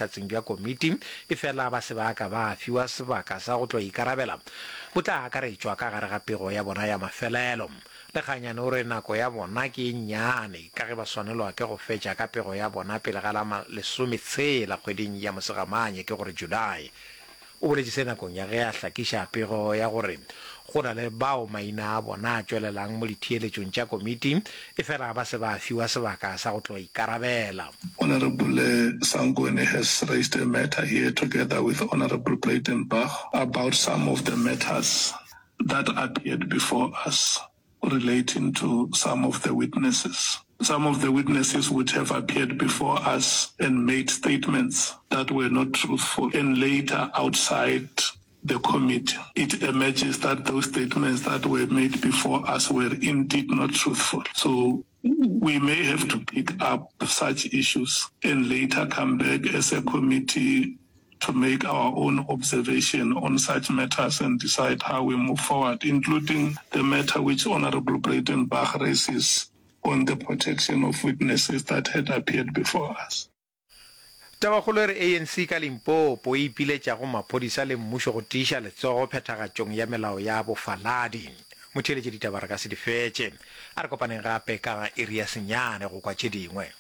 bohlatseng bja komiti efela ba se ba ka ba fiwa sebaka sa go tlo ikarabela bo tla akaretšwa ka gare ga pego ya bona ya mafelelo. Lekganyane o re nako ya bona ke e nnyane ka ge ba swanelwa ke go fetša ka pego ya bona pele ga la lesometshela kgweding ya Mosegamanye, ke gore July. O boletše se nakong ya ge a hlakiša pego ya gore go na le bao maina a bona a tšwelelang mo ditheeletšong tša komiti efela ba se ba fiwa sebaka sa go tlo ikarabela. Honourable Sangweni has raised a matter here together with Honourable Breytenbach about some of the matters that appeared before us relating to some of the witnesses. Some of the witnesses would have appeared before us and made statements that were not truthful and later outside the committee it emerges that those statements that were made before us were indeed not truthful. So we may have to pick up such issues and later come back as a committee to make our own observation on such matters and decide how we move forward, including the matter which Honourable Breytenbach raises on the protection of witnesses that had appeared before us. Tabakgolo e re ANC ka Limpopo e ipiletša go maphodisa le mmušo go tiiša letsogo phethagatšong ya melao ya bofaladi. Motheeletši ditaba re ka se di fetše. A re kopaneng gape ka iri ya senyane go kwa tše dingwe.